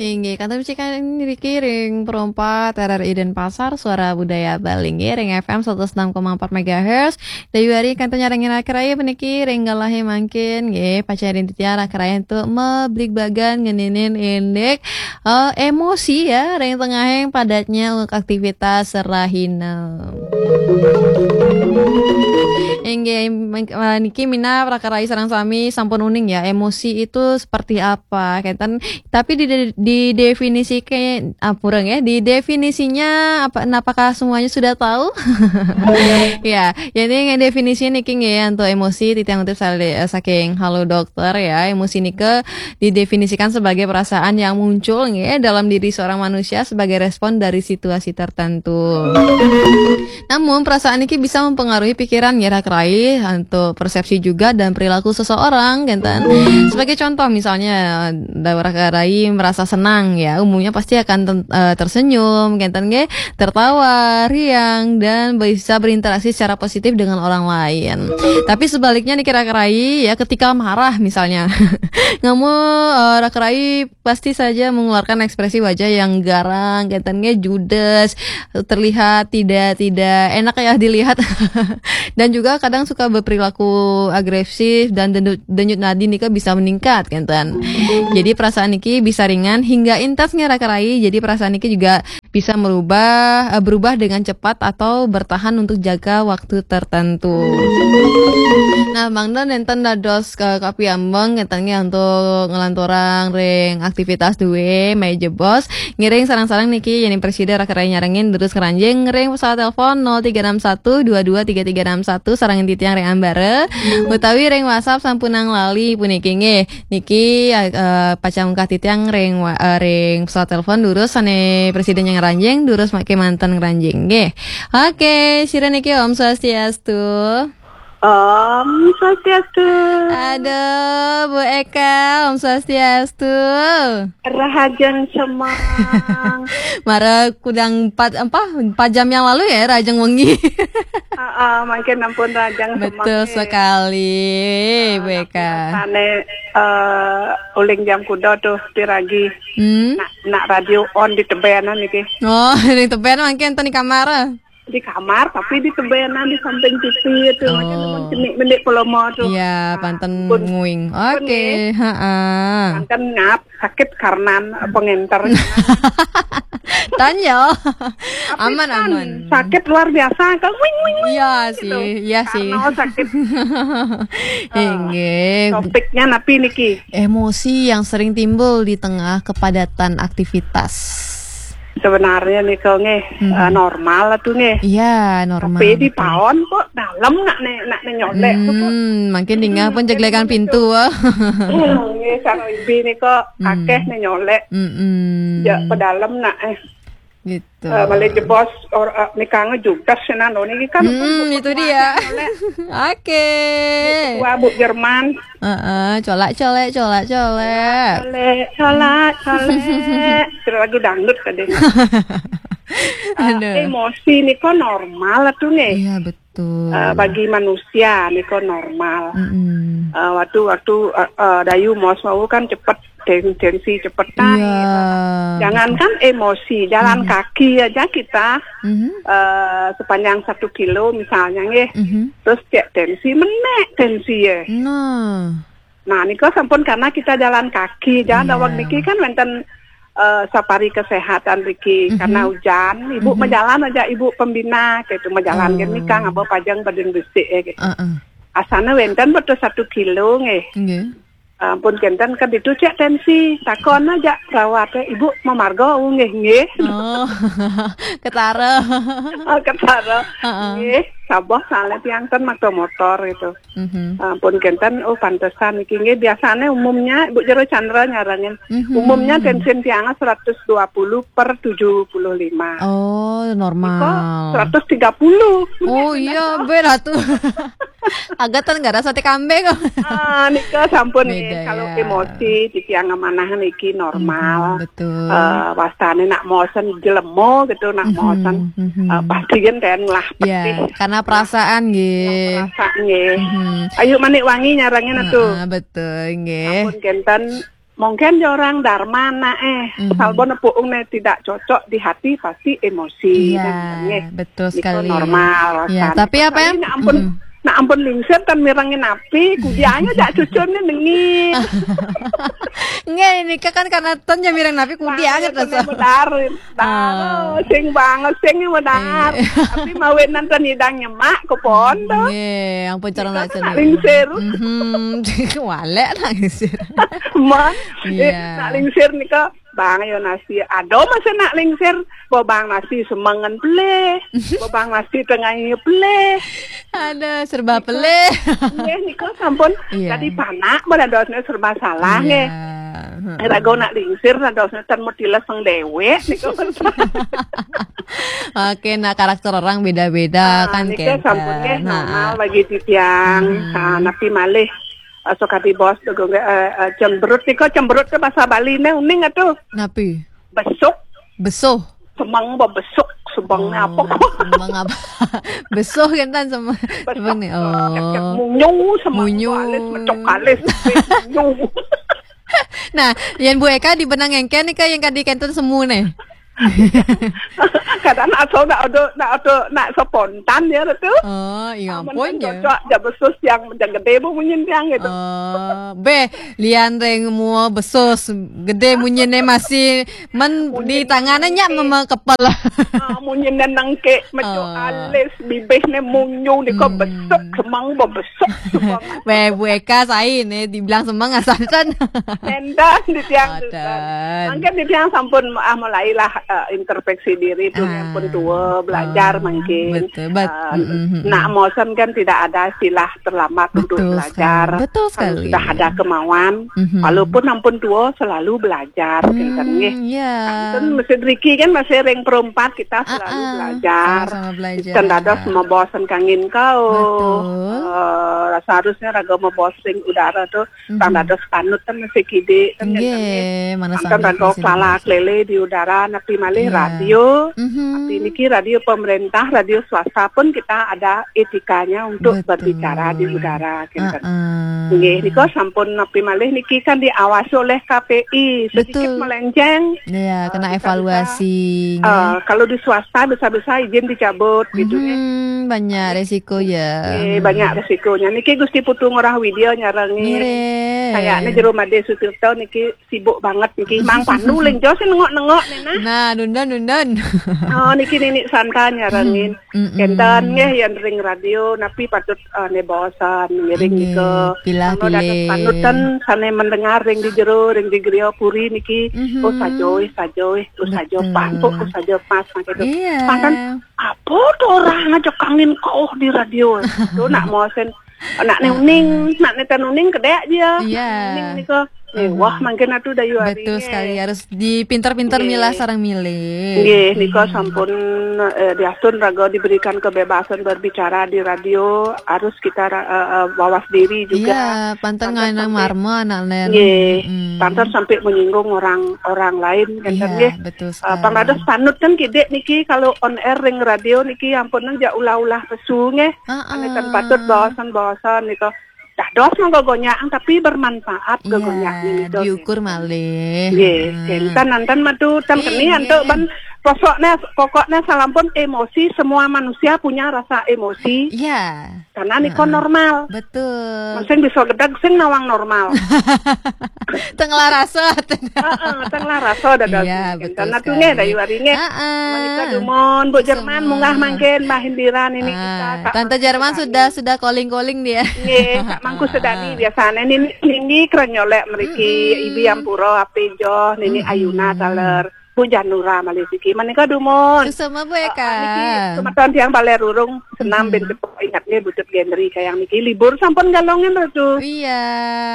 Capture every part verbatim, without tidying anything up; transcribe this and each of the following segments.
Inggih, kantun bisikan niki ring Perumpat R R I Denpasar, Suara Budaya Bali, nggih, ring F M seratus enam koma empat megahertz. Dayu ari kantun nyarengin raka rayi puniki ring galahe mangkin, nggih, pacang ring titiang raka rayi antuk mabligbagan ngeninin indik, eh, emosi ya, ring tengahing padatnya aktivitas rahina. Inggih, meng-, eh, niki minab raka rayi sareng sami sampun uning ya, emosi itu seperti apa, kenten. Tapi di, di, didefinisikan, ah, purang ya, didefinisinya apa, apakah semuanya sudah tahu? Ya, jadi yang definisi niki nggih, untuk emosi titiang ngutip sale-, eh, saking Halo Dokter ya, emosi nika didefinisikan sebagai perasaan yang muncul nggih dalam diri seorang manusia sebagai respon dari situasi tertentu. Namun perasaan niki bisa mempengaruhi pikiran nggih raka rayi, untuk persepsi juga dan perilaku seseorang, kenten. Sebagai contoh misalnya, raka rayi merasa senang ya, umumnya pasti akan ten-, eh, tersenyum, kenten nggih, tertawa, riang, dan bisa berinteraksi secara positif dengan orang lain. Tapi sebaliknya niki raka rayi ya, ketika marah misalnya, ngamu, eh, raka rayi pasti saja mengeluarkan ekspresi wajah yang garang, kenten nggih, judes, terlihat tidak, tidak enak ya dilihat. Dan juga kadang suka berperilaku agresif dan denyut, denyut nadi nika bisa meningkat, kenten. Jadi perasaan niki bisa ringan hingga intens nggih raka rayi. Jadi perasaan niki juga bisa merubah, eh, berubah dengan cepat atau bertahan untuk jangka waktu tertentu. Nah, mangda nenten dados ka-, kapiambeng kenten nggih untuk ngelanturang ring aktivitas duwe, mai jebos. Ngiring sareng-sareng niki, yén prasida raka rayi nyarengin, durus ngranjing ring pesawat telepon nol tiga enam satu dua dua tiga tiga enam satu, sareng titiang ring ambara, utawi ring WhatsApp sampunang lali puniki nggih. Niki, eh, pacang ungkah titiang ring wa-, eh, ring pesawat telepon, durus sané prasida ngranjing, durus mangkin manten ngranjing nggih. Oke, sira niki Om Swastiastu. Om Swastiastu. Aduh, Bu Eka, Om Swastiastu. Rahajeng semeng. Mara kudang empat, apa, empat jam yang lalu ya, rahajeng wengi. Heeh, mangkin ampun rahajeng semeng. Betul sekali, Bu Eka. Sané, eh, uling jam kuda tuh piragi. Hmm. Nak, nak radio on di tebenan niki. Oh, di tebenan mangkin ten di kamar. Di kamar, tapi di tebenan di samping T V itu. Mangkin ampun cenik mendik pelomo tuh. Iya, panten nguing. Oke, heeh. Panten ngap, sakit karnan, eh, pengenter. Tanya. Aman, aman. Sakit luar biasa, kan wing, wing, wing. Iya sih, iya sih. Karena sakit. Inggih. Topiknya napi niki? Emosi yang sering timbul di tengah kepadatan aktivitas. Sebenarnya nika nggih, eh, normal tuh nggih. Iya, normal. Tapi di paon kok dalem nak né, nak né nyolek tuh kok. Hmm, mangkin dingeh pun jeglegan pintu. Nggih, sareng ibi nika akeh né nyolek. Mm-mm. Ya, pedalem nak, eh. Gitu. Eh, malih jebos or, eh, nika ngejudes senan lho niki kan. Hmm, itu dia. Oke. Wah, Bu Jerman. Heeh, colak-colek, colak-colek. Colek, colak, colek. Itu lagu dangdut tadi. Eh, aduh. Emosi nika normal tuh nggih. Iya, betul. Eh, bagi manusia nika normal. Mm-mm. Eh, waktu, waktu, eh, eh, Dayu mos wau kan cepet ten-, tensi cepet naik. Iya. Jangankan emosi, jalan kaki aja kita, eh, sepanjang satu kilo misalnya nggih. Terus cek tensi, menek tensi ya. Nah. Nah, nika sampun karena kita jalan kaki. Jalan daweg niki kan wénten, eh, safari kesehatan niki. Karena hujan, ibu majalan aja, ibu pembina gitu, majalan kan nika ngaba pajang badan besik ya gitu. Heeh. Asana wénten betul satu kilo nggih. Nggih. Ampun kenten kan ditu cek tensi, takon aja perawatnya, "Ibu mamarga?" "Oh, nggih, nggih." Oh, ketara. Oh, ketara. Heeh. Nggih, sabar soalnya tiang ten makta motor gitu. Mhm. Ampun kenten, oh pantesan iki nggih, biasanya umumnya Ibu Jero Chandra nyarengin. Mhm. Umumnya tensin tiangnya seratus dua puluh per tujuh puluh lima. Oh, normal. Nika seratus tiga puluh. Oh, iya, berat tuh. Agak ten nggak ada sate kambing. Ah, nika sampun nggih. Beda, kalau ya. Emosi, titiang amanah niki normal. Mhm, betul. Eh, wastane nak mosen jelema gitu, nak mosen, eh, pasti kan ten ngelah petih. Ya, karena perasaan nggih. Perasaan nggih. Mhm. Ayu Manik Wangi nyarengin atuh. Heeh, betul nggih. Ampun kenten Mungkin dia orang dharma nak eh. Mhm. Asal bon puung ne tidak cocok di hati, pasti emosi. Iya, kan, nggih. Betul sekali. Itu normal. Ya, tapi apa yang nak ampun, nak ampun lingsir kan mirengin api, kudianya dak cucurnya nengin. Nggih, ini kan karena ton ya mireng api kudianya terus. Benar. Oh, sing banget sing benar. Tapi mawe nanten idang nyemak ke pondok. Nggih, ampun cara nak lingsir. Mhm. Walek nak lingsir. Mon, iya. Nak lingsir nika bang yo nasi. Aduh, masa nak lingsir, bo bang nasi semengen pelih, bo bang nasi tengah pelih. Ada serba pelih. Nggih, nika sampun. Iya. Tadi panak, bo dadosnya serba salah nggih. Iya. Rago nak lingsir, dadosnya tan mutiles sang dewek nika. Oke, nah, karakter orang beda-beda kan, nika sampun nggih, normal bagi titiang. Nah, napi malih, eh, sok adi bos, eh, eh, cemberut nika, cemberut ke bahasa Bali ne uning atuh. Napi? Besuk. Besuh. Semeng bo besuk, semeng apa kok? Semeng apa? Besuh kan tan semeng. Besuk. Semeng nih. Oh. Munyu, semeng. Munyu. Alis, mecok alis, munyu. Nah, yang Bu Eka di benang engken nika yang kadi kenten semu nih. Kadang nak so nak odo, nak odo, nak spontan ya tu. Oh, iya ampun ya. Cocok ja besus yang ja gede bu munyin tiang gitu. Oh, be, lian ring mua besus gede munyin ne masih men di tangannya nyak meme kepala. Ah, munyin ne nengke, meco alis, bibih ne munyu, nika besuk, semang bo besuk, semang. Be, Bu Eka sai ne dibilang semang asanten. Nenten di tiang. Mungkin di tiang sampun ah mulailah, eh, introspeksi diri tu, ah, pun tua, belajar mungkin. Betul, betul. Eh, nak mosen kan tidak ada istilah terlambat untuk belajar. Betul sekali. Kalau sudah ada kemauan, walaupun ampun tua selalu belajar, kinten nggih. Iya. Kan mesti driki kan masih ring perempat kita selalu belajar. Sama-sama belajar. Kan dados mobosen kangin kau. Betul. Eh, seharusnya raga mobosing udara tu Tang dados panut kan masih kidik kan. Nggih, mana kan raga kelala kelele di udara, napi malih radio. Tapi niki radio pemerintah, radio swasta pun kita ada etikanya untuk berbicara di udara, kinten. Nggih, nika sampun napi malih niki kan diawasi oleh K P I, sedikit melenceng. Iya, kena evaluasi. Eh, kalau di swasta bisa-bisa izin dicabut gitu nggih. Banyak resiko ya. Nggih, banyak resikonya. Niki Gusti Putu Ngurah Widya nyarengin. Kayaknya Jero Made Sutirta niki sibuk banget niki. Mang Pandu lenjo sih nengok-nengok nih nah. Nah, nundon nundon. Oh, niki Nini Santa nyarengin. Kenten nggih yang ring radio, napi patut, eh, nebosan ngiring nika. Pilah pilih. Panutan sane mendengar ring di jero, ring di griya puri niki. Oh, sajoe, sajoe, oh, sajo pas, oh, sajo pas, gitu. Iya. Panten, apa tu orang aja kangin kau di radio? Tu nak mosen, nak ne uning, nak ne tan uning kedek dia. Iya. Uning nika. Wah, mungkin atuh dayu hari. Betul sekali, harus dipinter-pinter milah sareng milih. Nggih, nika sampun, eh, diastun raga diberikan kebebasan berbicara di radio, harus kita ra-, eh, eh, bawas diri juga. Iya, panten nganang marma anak nen. Nggih, panten sampai menyinggung orang, orang lain, kinten nggih. Iya, betul sekali. Eh, pang dados panut kan kidik niki kalau on air ring radio niki ampun nang ja ulah-ulah pesu nggih. Heeh. Ane kan patut bawasan-bawasan nika. Dados mangga gonyak tapi bermanfaat ke gonyak niki. Diukur malih. Nggih, kinten nanten madu tan keni antuk ban pokoknya, pokoknya salampun emosi, semua manusia punya rasa emosi. Iya. Karena nika normal. Betul. Sing bisa gedeg sing nawang normal. Tenglah rasa. Heeh, tenglah rasa dados. Iya, betul sekali. Karena tu nggih dayu hari nggih. Heeh. Menika dumon Bu Jerman munggah mangkin Mbah Indira nini kita. Tante Jerman sudah, sudah calling-calling dia. Nggih, Kak Mangku Sedani biasane nini, nini keren nyolek mriki, Ibi Ampura, Ape Joh, nini Ayuna taler. Bu Janura malih siki. Menika dumun. Suksma Bu Eka. Ah, niki semeton tiang Balerurung, senam ben tepuk ingat nggih Butut Gendri kayang niki libur sampun galongan Ratu. Iya.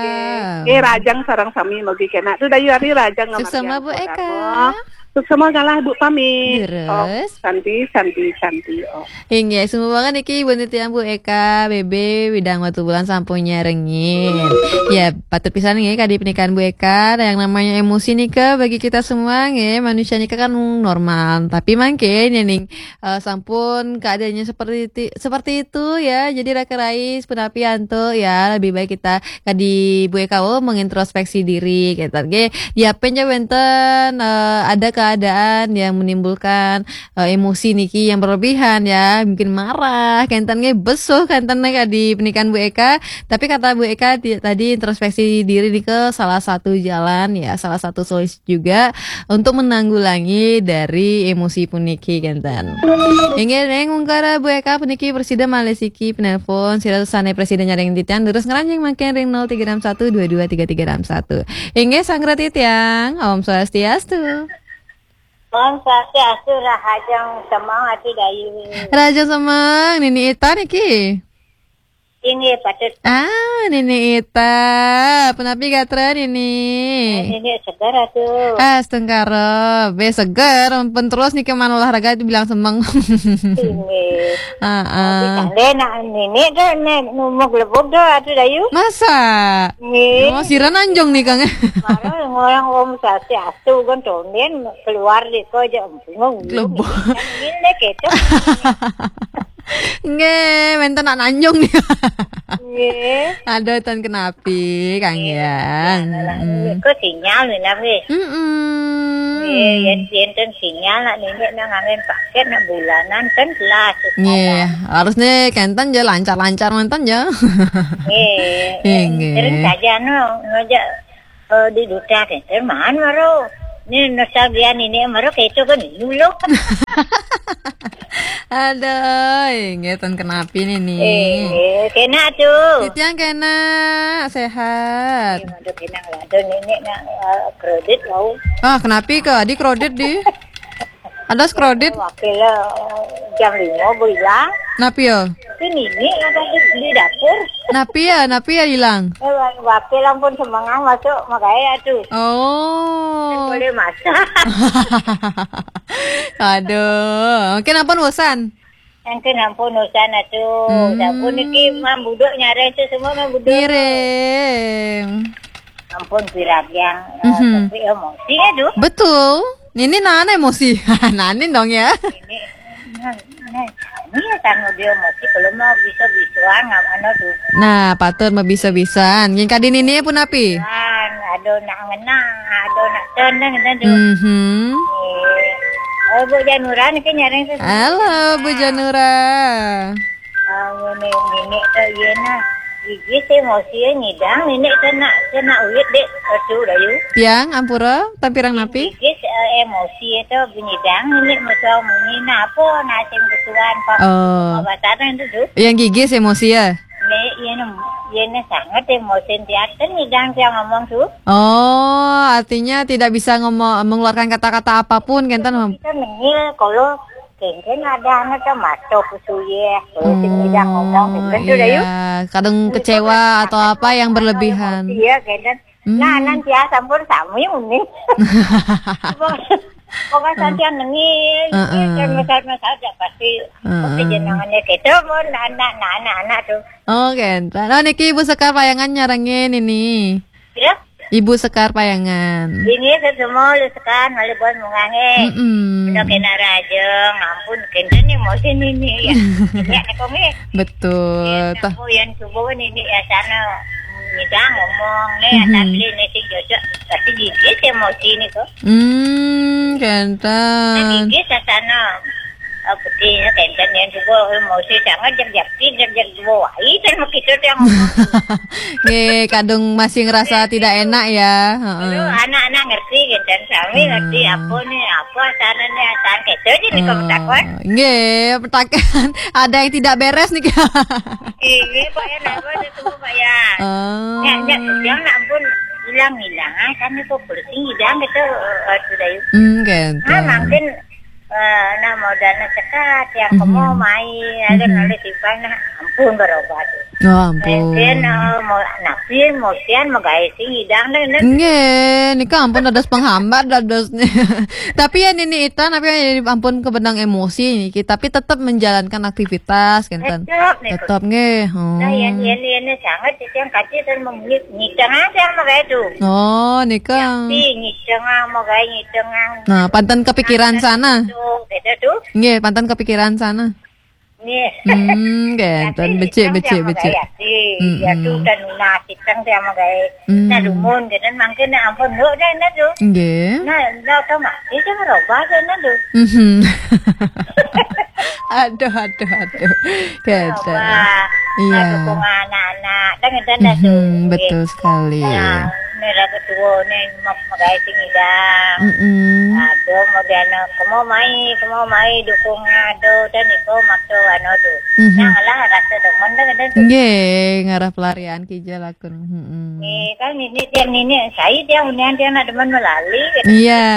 Nggih, nggih, rajang sareng sami mugi kena tu dayu hari rajang. Suksma Bu Eka. Semua galah Bu pamit. Terus? Oh, Santi, Santi, Santi. Oh. Inggih, sumbangan niki Ibu Nitian, Bu Eka, B B, Widang Watubulan sampun nyarengin. Ya, patut pisan nggih kadi pernikahan Bu Eka, yang namanya emosi nika bagi kita semua nggih, manusia nika kan normal. Tapi mangke ning eh, sampun keadaannya seperti ti- seperti itu ya. Jadi raka rais punapi antuk ya, lebih baik kita kadi Bu Eka mengintrospeksi diri gitu. Oke, diapen ja wenten eh, ada keadaan yang menimbulkan eh, emosi niki yang berlebihan ya, mungkin marah, kenten nggih besuh kenten nggih kadi pernikahan Bu Eka. Tapi kata Bu Eka ti- tadi introspeksi diri nika salah satu jalan ya, salah satu solusi juga untuk menanggulangi dari emosi puniki kenten. Inggih ning ungkara Bu Eka puniki presida malih siki penelpon sira sane presida nyarengin titiang terus ngranjing mangkin ring nol tiga enam satu dua dua tiga tiga enam satu. Inggih sanggra titiang, Om Swastiastu. Om Swastiastu, rahajeng semeng Ati Dayu. Rahajeng semeng, Nini Ita niki. Inggih, patut. Ah, Nini Ita. Punapi gatra, Nini? Eh, Nini seger atuh. Ah, astungkara. Be seger, pun terus niki man olahraga dibilang semeng. Inggih. Heeh. Tapi kande nak Nini deh, nek numuk lebok deh, atuh Dayu. Masa? Nggih. Oh, sira nanjung nih, Kang. Baru ngorang Om Swastiastu kan tonden keluar deh kok aja. Lebok. Nggih, gitu. Nggih, wenten nak nanjung nih. Nggih. Aduh, ten kenapi, Kang Yang. Nggih, kok sinyal nih, nggih. Mm-mm. Nggih, yen enten sinyal nak nini nang angin paket nak bulanan kan jelas. Nggih, harus nih kenten ya lancar-lancar manten ya. Nggih. Nggih. Sering saja no ngajak eh, di duta kenten man baru. Ini nostalgia nini baru kayak itu kan dulu. Aduh, nggih ten kenapi nini. Eh, kena tuh. Titiang kena sehat. Aduh, kena lah. Aduh, nini nak eh, kredit mau. Ah, kenapi ke? Adi kredit di? Ada kredit? Wakil eh, jam lima bilang. Napi ya? Itu nini ada di, di dapur. Napi ya, napi ya hilang. Eh, wa- wakil ampun semengang masuk makanya tuh. Oh. Boleh masak. Aduh, mungkin ampun bosan. Mungkin ampun bosan atuh. Hmm. Sampun niki mam buduk nyareng tuh semua mam buduk. Ngiring. Ampun piragiang. Mhm. Tapi emosi ya tuh. Betul. Ini nana emosi. Nanin dong ya. Ini nah, nah, ini ya kan dia emosi kalau mau bisa bisuan nggak mana tuh. Nah, patut mau bisa-bisaan. Yang kadi nini pun api? Kan, aduh nak ngenang, aduh nak tenang gitu tuh. Mhm. Eh, oh, Bu Janura niki nyareng sesuatu. Halo, Bu Janura. Ah, ini nini tuh iya nah. Gigi sih emosi ya nyidang, nini kena kena uyut dek, aduh Dayu. Tiang ampura, tampirang napi? Gigi eh, emosi itu nyidang, nini musuh muni napa nasing kesuan kok. Oh. Pengobatan itu tuh. Yang gigi sih emosi ya? Ini, ini, ini sangat emosi tiap kan nyidang tiang ngomong tuh. Oh, artinya tidak bisa ngomong mengeluarkan kata-kata apapun kenten. Kita menil kalau kenten ada anak kan masuk ke suye, kalau sing nyidang ngomong kenten tuh Dayu. Iya, kadang kecewa atau apa yang berlebihan. Iya, kenten. Hmm. Nah, nanti ya sampun sami muni. Pokoknya santian nengil, Heeh. Kan mesat-mesat ya pasti Heeh. Pasti jenengannya gitu pun anak, nah, anak-anak tuh. Oh, kenten. Oh, niki Ibu Sekar Payangan nyarengin ini. Ya? Ibu Sekar Payangan. Ini semua lu sekan oleh buat mungange. Mm-mm. Udah kena raja, ngampun kenten nih mau sini nih ya. Ya, nek kok nggih. Betul. Ya, Toh. Aku yang coba ini ya sana. Nyidang ngomong nih, Mhm. Tapi ini sih cocok. Pasti gigi sih emosi nih kok. Hmm, Nah, kenten. Gigi sasana. Oh, putih ya, kenten yang juga emosi sangat jam-jam jam-jam dua wai dan begitu dia ngomong. Nggih, kadung masih ngerasa tidak enak ya. Heeh. Aduh, anak-anak ngerti kenten, sami ngerti Hmm. apa nih, apa sana nih, asal kenten aja nih kamu takut. Oh, nggih, petakan. Ada yang tidak beres nih. Iya, Pak ya, napa itu semua Pak ya? Oh. Ya, ya, yang nak pun hilang-hilang, ah, kami kok bersih hilang gitu, eh, sudah yuk. Hmm, gitu. Ah, mungkin eh, nah mau dana sekat, yang Mhm. Kemo main, ada Mhm. Nolih timpal, nah, ampun berobat. Oh, ampun. Enten, eh, mau napi, mau sian, mau gaé sing idang deh, deh. Nggih, nika ampun dados penghambat dados. Tapi ya nini Ita, tapi ya ampun kebendang emosi niki, tapi tetap menjalankan aktivitas kenten. Tetap niku. Tetap nggih. Hmm. Nah, yang ini ini sangat yang kaji dan memilih nyiceng aja sama kayak itu. Oh, nika. Tapi nyiceng mau kayak nyiceng. Nah, panten kepikiran sana. Tuh, beda tuh. Nggih, panten kepikiran sana. Nggih. Hmm, kenten. Tapi becik, nyiceng becik, sama becik. Kayak sih. Ya tuh dan nasi ceng sama kayak. Hmm. Nah, lumun gitu mangkin ampun lu deh nah tuh. Nggih. Nah, lo tau mah, itu merubah deh nah tuh. Mhm. Aduh, aduh, aduh. Kenten. Wah, iya. Dukung anak-anak, kan ngeten dah tuh. Mhm, betul sekali. Nah, ini lah ketua nih, mau magaé sing idang. Mm-mm. Aduh, mau dia anak, kamu mai, kamu mai dukung aduh, dan itu waktu anu tuh. Mhm. Nah, lah rasa demen deh, ngeten tuh. Nggih, ngarah pelarian kijel lakun. Mhm. Nih, kan ini dia, ini, saya dia, unian dia anak demen melali. Gitu. Iya.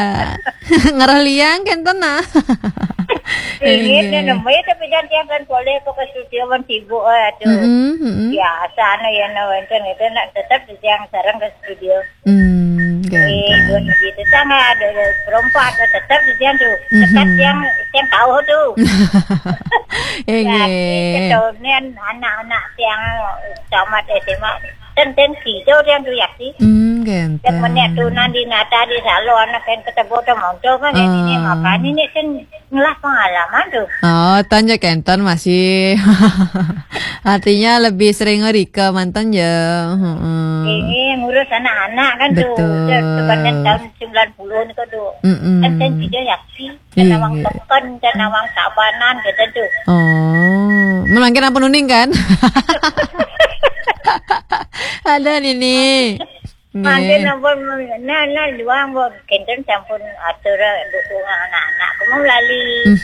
Ngarah liang kenten nah. Ini nemu ya, tapi jangan, jangan boleh kok ke studio kan sibuk, eh, tuh. Mm-mm, mm-mm. Biasa, anu ya, no, enten itu nak tetap yang sareng ke studio. Hmm, eh, kenten. Dua gitu, sama ada, ada perempuan, ada tetap di siang tuh. Tetap yang, yang tahu tuh. Eh, ya, nggih. Ketonian anak-anak yang tamat S M A, ten, ten, gitu, yang tuh ya sih. Hmm, kenten. Yang menek tuh nanti nata di salo anak yang ketemu tuh monto kan, ini, ini, makanya ini kan ngelah pengalaman tuh. Oh, tanya kenten masih. Artinya lebih sering ngerika mantan ya. Heeh. Ini ngurus anak-anak kan tuh. Betul. Udah, udah kan tahun sembilan puluh nih kok tuh. Mm-mm. Kan saya juga ya sih. Iya. Kan awang peken, kan awang sabanan gitu tuh. Oh, melangkir apa nuning kan? Ada nini. Mangkin ampun, nah, nah, luang, Bu. Kenten sampun atur dukungan anak-anak. Kamu lali.